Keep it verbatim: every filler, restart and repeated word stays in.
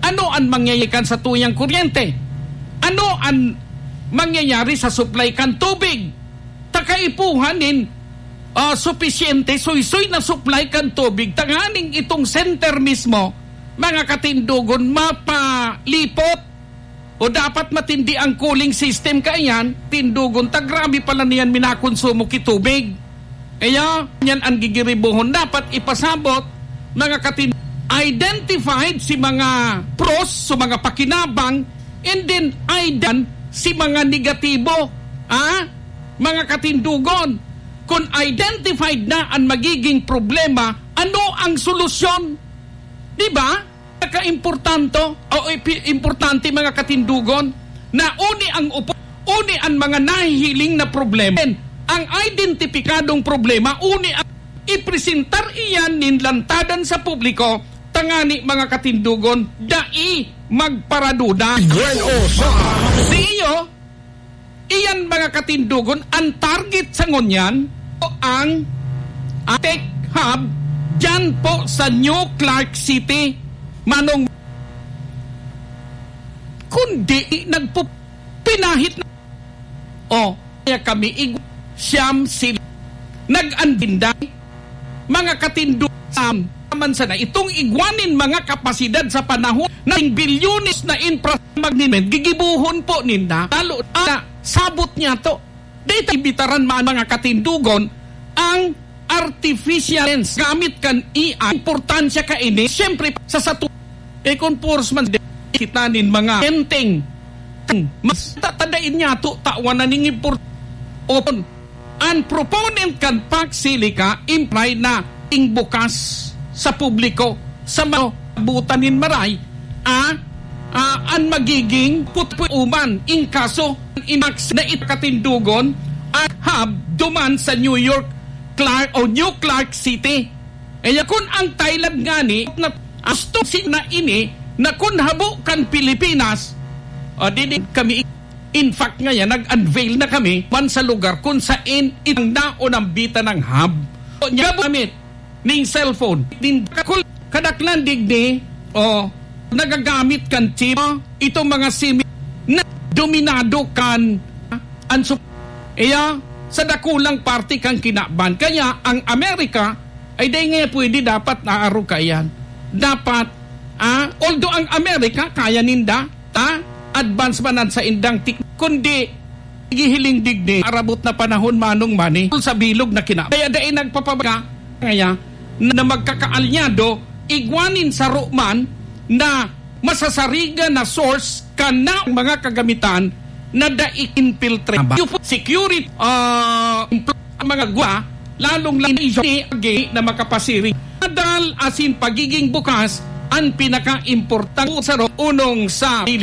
Ano an mangyayari kan satuyang kuryente? Ano an mangyayari sa supply kan tubig? Ta kaipuhan nin, ah, supisyente, suysoy na supply kan tubig, tanganing itong center mismo, mga katindogon, mapalipot. O dapat matindi ang cooling system kaiyan, tindogon ta grabe pala niyan minakonsumo ki tubig. Kaya, yan ang gigiribohon. Dapat ipasabot, mga katin-, identified si mga pros, so mga pakinabang, and then, idan si mga negatibo. Ah? Mga katindogon, kung identified na ang magiging problema, ano ang solusyon? Di ba? Pinakaimportanto o ipi-, importante, mga katindogon, na uni ang upo, uni ang mga nahihiling na problema. Ang identipikadong problema, uni ang ipresentar iyan nin lantadan sa publiko, tangani, mga katindogon, dai magparaduda. Gwen Osa. Sa iyo, Iyan, mga katindogon, ang target sa ngunyan o ang, ang tech hub dyan po sa New Clark City, Manong. Kundi nagpo-, pinahit na. O, kaya kami ig-, siyam sila. Nag-andinday. Mga katindog, sa naman sana itong igwa nin mga kapasidad sa panahon na bilyones na infra magnimen, gigibohon po ninda. Lalo na sabot niya to. Dito ibitaran man, mga katindogon, ang artificial lens gamit kan A I. Importansya kaini, siyempre, sa satu-, e, kung force man, kita nin mga enteng. Mas tatadain niya to, tawan na ning import-, o An proponent kan Pax Silica imply na ing bukas sa publiko sa mga butan nin maray, ah, ah, an magiging putpuuman ing kaso in Pax na ikatindogon an hub duman sa New York, Clark, o New Clark City. Kaya kun ang Thailand ngani na gusto si na ini na kun habo kan Pilipinas, o, di, di kami In fact, ngayan, nag-unveil na kami man sa lugar kung sain itong naunambitan ng hub. So, niya gamit ning cellphone. Din kakul-, kadaklan digdi, o, nagagamit kan chip, itong mga simi na dominado kan, ah, ang sup-, iya, sa dakulang parte kan kinaban. Kaya ang Amerika ay dai nga pwede dapat naaro kaiyan. Dapat, ah, although ang Amerika, kaya ninda, ta, advance man an saindang tik-, kundi gihiling digdi, arabot na panahon manong mani, sa bilog na kina-, kaya dai nagpapabaga, kaya na magkakaalyado, igwa nin saro man na masasarigan na source kan mga kagamitan na dai infiltrate. Security, ah, mga gwa, lalong lang agi na makapasiring. Adal asin pagiging bukas ang pinaka-importante sa ro-, unong sa